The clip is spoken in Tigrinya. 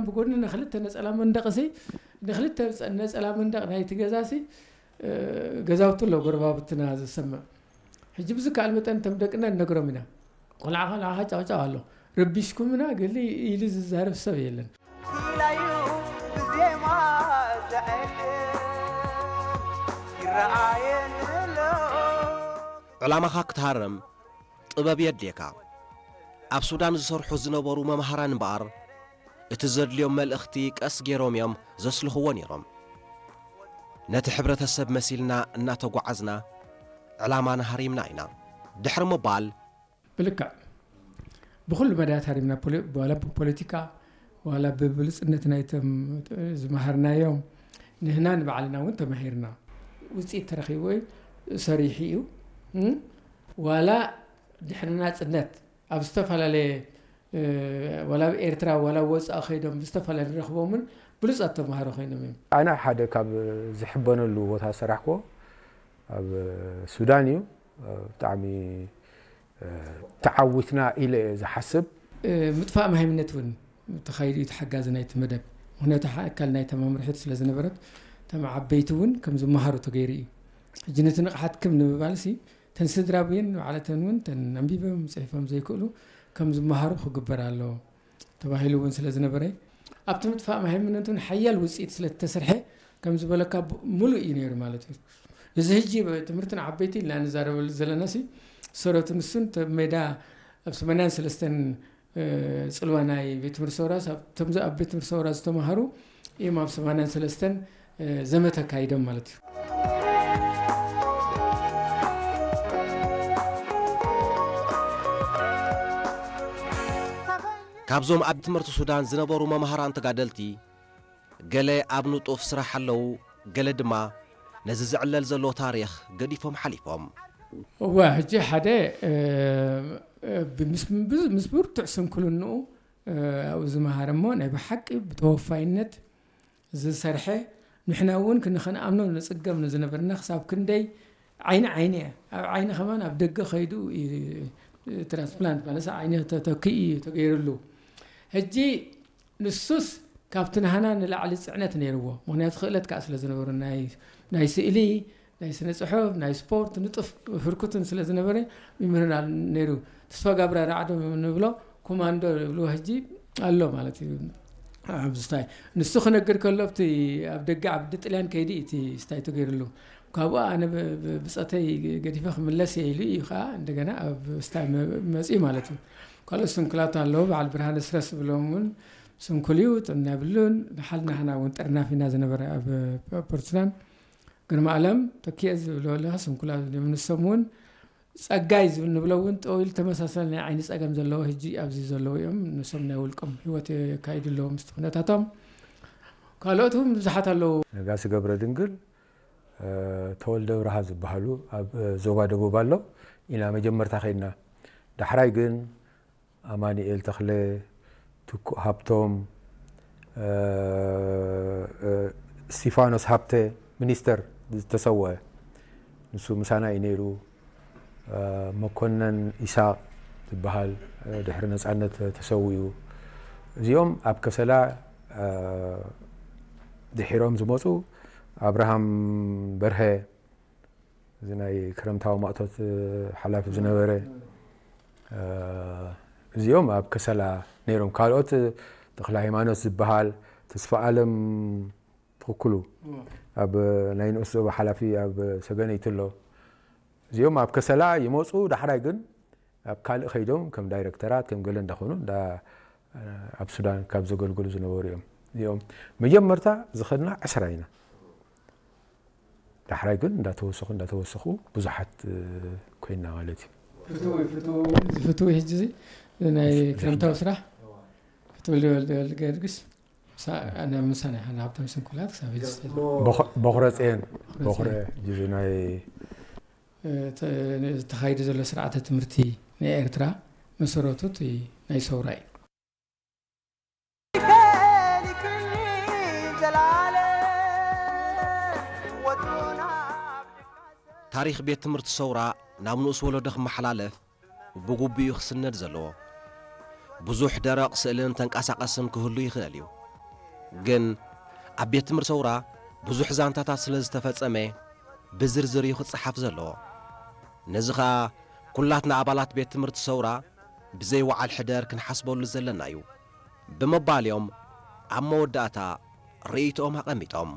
ብጎኒ ንክልተ ነጸላ መንደቕሲ፣ ንክልተ ነጸላ መንደቕ ናይቲ ገዛሲ፣ እ፣ ገዛውቲ ኣሎ ጎረባብትና ዝሰምዕ። ሕጂ ብዝከኣል መጠን እቶም ደቅና ንነግሮም ኢና። "ቆልዓ፣ ቆልዓኻ ጫውጫው ኣሎ፣ ረቢሽኩምና" ገሊ ኢሉ ዝዛረብ ሰብ የለን። ኢላዩ ብዜማ ዘዕልል ይረኣየኒ ኣሎ። ዕላማኻ ክትሃርም ጥበብ የድልየካ። ኣብ ሱዳን ዝሰርሑ ዝነበሩ መምሃራን እምበኣር፣ እቲ ዘድልዮም መልእኽቲ ቀስ ገይሮም እዮም ዘስልኽዎ ነይሮም። ነቲ ሕብረተሰብ መሲልና እናተጓዓዝና፣ ዕላማና ሃሪምና ኢና። ድሕሪ ምባል፣ ብልክዕ ብኹሉ መዳያት ሃሪምና፣ ፖሊ-፣ ዋላ ብፖለቲካ፣ ዋላ ብብሉጽነት ናይቶም ዝመሃርናዮም፣ ንህና ንባዕልና እውን ተማሂርና። ውጽኢት ተረኺቡ እዩ፣ ሰሪሑ እዩ። እም? ዋላ ድሕሪ ናጽነት ኣብ ዝተፈላለየ፣ እ፣ ዋላ ኣብ ኤርትራ፣ ዋላ ኣብ ወጻኢ ከይዶም ብዝተፈላለየ ንረኽቦምን ብሉጻት ተማሃሮ ኮይኖም እዮም። ኣነ ሓደ ካብ ዝሕበነሉ ቦታ ዝሰራሕክዎ ኣብ ሱዳን እዩ። ብጣዕሚ፣ እ፣ ተዓዊትና ኢለ እየ ዝሓስብ። እ፣ ምጥፋእ መሃይምነት እውን ተኻይዱ እዩ፣ እቲ ሓጋዚ ናይቲ መደብ። ምኽንያቱ ሓ-፣ ኣካል ናይታ መምርሒት ስለ ዝነበረት፣ እቶም ዓበይቲ እውን ከም ዝመሃሩ ተገይሩ እዩ። ሕጂ ነቲ ንቕሓት ክም ንምባልሲ፣ እተን ስድራ ብየን ባዕለተን እውን፣ እተን ኣንቢቦም ጽሒፎም ዘይክእሉ፣ ከም ዝመሃሩ ክግበር ኣለዎ ተባሂሉ እውን ስለ ዝነበረ፣ ኣብቲ ምጥፋእ መሃይምነት እውን ሓያል ውጽኢት ስለ እተሰርሐ፣ ከም ዝበለካ ብ-፣ ምሉእ እዩ ነይሩ ማለት እዩ። እዚ ሕጂ ብ-፣ ትምህርቲ ንዓበይቲ ኢልና ንዛረበሉ ዘለናሲ፣ ሰረቱ ንሱን፣ እተ ሜዳ ኣብ ሰማንያን ሰለስተን፣ እ፣ ጽልዋ ናይ ቤት ትምህርቲ ሰውራስ፣ ኣብ፣ እቶም ዝ-፣ ኣብ ቤት ትምህርቲ ሰውራ ዝተማሃሩ እዮም ኣብ ሰማንያን ሰለስተን፣ እ፣ ዘመተ ኣካይዶም ማለት እዩ። ካብዞም ኣብ ትምህርቲ ሱዳን ዝነበሩ መምሃራን ተጋደልቲ፣ ገለ ኣብ ንጡፍ ስራሕ ኣለዉ፣ ገለ ድማ ነዚ ዝዕለል ዘሎ ታሪኽ ገዲፎም ሓሊፎም። እወ፣ ሕጂ ሓደ፣ እ፣ እ፣ ብምስ-፣ ብዝ-፣ ምስ ብርቱዕ ስንክልንኡ፣ እ፣ ኣብኡ ዝመሃረ እሞ ናይ ብሓቂ ብተወፋይነት ዝሰርሐ፣ ንሕና እውን ክን-፣ ክንኣምኖ ንጽገም ንዝነበርና፣ ክሳብ ክንደይ ዓይኒ ዓይኒ እያ። ኣብ ዓይኒ ከማን ኣብ ደገ ከይዱ እዩ፣ ትራንስፕላንት ማለት ዓይኒ ተተኪኡ እዩ ተገይሩሉ። ሕጂ ንሱስ ካብቲ ናህና ንላዕሊ ጽዕነት ነይርዎ። ምኽንያቱ ክእለት ከኣ ስለ ዝነበሮ፣ ናይ፣ ናይ ስእሊ፣ ናይ ስነ ጽሑፍ፣ ናይ ስፖርት ንጡፍ ህርኩትን ስለ ዝነበረ፣ ይምህርና ነይሩ። ተስፋ ጋብራ ራዕዶ ንብሎ፣ ኮማንዶ ይብልዎ ሕጂ ኣሎ ማለት እዩ። ኣብ ስታይ ንሱ ክነግር ከሎ፣ ኣብቲ ኣብ ደገ ዓዲ ጥልያን ከይዲ እቲ ስታይ ተገይሩሉ። ካብኡ ኣነ ብ-፣ ብ-፣ ብጸተይ ገዲፈ ክምለስ እየ ኢሉ እዩ ከኣ እንደገና ኣብ ስታይ መ-፣ መጺኡ ማለት እዩ። ካልኦት ስንኩላት ኣለዉ፣ በዓል ብርሃነ ስረስ ዝብሎም እውን ስንኩል እዩ፣ ጥዕና የብሉን። ንሓል ናህና እውን ጥርናፍ ኢና ዝነበረ ኣብ ፖርትላንድ። ግርማ ኣለም ተኪኤ ዝብሎ ኣለኻ፣ ስንኩላት እዮም። ንሶም እውን ጸጋይ ዝብል ንብሎ እውን ጠው ኢሉ ተመሳሳሊ ናይ ዓይኒ ጸገም ዘለዎ ሕጂ ኣብዚ ዘለዉ እዮም። ንሶም ናይ ውልቆም ህይወት የካይዱ ኣለዉ ምስቲ ኩነታቶም። ካልኦት እውን ብዙሓት ኣለዉ። ነጋሲ ገብረ ድንግል፣ እ፣ ተወልደ ብርሃ ዝበሃሉ ኣብ፣ እ፣ ዞባ ደቡብ ኣሎ ኢና መጀመርታ ከይድና። ዳሕራይ ግን ኣማኑኤል ተኽለ፣ ትኩእ ሃብቶም፣ እ፣ እ፣ እስቲፋኖስ ሃብተ፣ ሚኒስተር ዝተሰወአ፣ ንሱ ምሳና እዩ ነይሩ። እ፣ መኮነን ኢሳቕ ዝበሃል፣ እ፣ ድሕሪ ነጻነት ተሰዊኡ። እዚኦም ኣብ ከሰላ፣ እ፣ ድሒሮም ዝመጹ፣ ኣብርሃም በርሀ፣ እዚ ናይ ክረምታዊ ማእቶት ሓላፊ ዝነበረ፣ እ፣ እዚኦም ኣብ ከሰላ ነይሮም። ካልኦት ተኽለ ሃይማኖት ዝበሃል፣ ተስፋ ኣለም ትኽክሉ፣ ኣብ ናይ ንኡስ ዞባ ሓላፊ ኣብ ሰገነይቲ ኣሎ። እዚኦም ኣብ ከሰላ ይመጹ፣ ዳሕራይ ግን ኣብ ካልእ ከይዶም ከም ዳይረክተራት፣ ከም ገለ እንዳኾኑ፣ እንዳ-፣ ኣብ ሱዳን ካብ ዘገልግሉ ዝነበሩ እዮም። እዚኦም መጀመርታ ዝኸድና ዕስራ ኢና። ዳሕራይ ግን እንዳተወሰኹ፣ እንዳተወሰኹ ብዙሓት፣ እ፣ ኮይና ማለት እዩ። ፍትዊ፣ ፍትዊ፣ እዚ ፍትዊ ሕጂ እዚ ናይ ክረምታዊ ስራሕ ፍትዊ ወልደ፣ ወልደ ጊዮርጊስ፣ ምሳ-፣ ኣነ ምሳና ኢና፣ ሃብታም ስንኩላት ክሳብ ሕጂ ዝፈ-፣ በኹ-፣ በኹረ ጽዮን፣ በኹረ በኹረ ጽዮን። ሕጂ ናይ እ፣ ተ-፣ ዝተኻይደ ዘሎ ስርዓተ ትምህርቲ ናይ ኤርትራ መሰረቱ እቲ ናይ ሰውራ እዩ። ታሪኽ ቤት ትምህርቲ ሰውራ ናብ ንኡስ ወለዶ ክመሓላለፍ ብግቡእ እዩ ክስነድ ዘለዎ። ብዙሕ ደረቕ ስእልን ተንቀሳቐስን ክህሉ ይኽእል እዩ። ግን ኣብ ቤት ትምህርቲ ሰውራ ብዙሕ ዛንታታት ስለ ዝተፈጸመ ብዝርዝር እዩ ክጸሓፍ ዘለዎ። ነዚ ኸኣ ኩላትና ኣባላት ቤት ትምህርቲ ሰውራ ብዘይ ወዓል ሕደር ክንሓስበሉ ዘለና እዩ ብምባል እዮም ኣብ መወዳእታ ርእይቶኦም ኣቐሚጦም።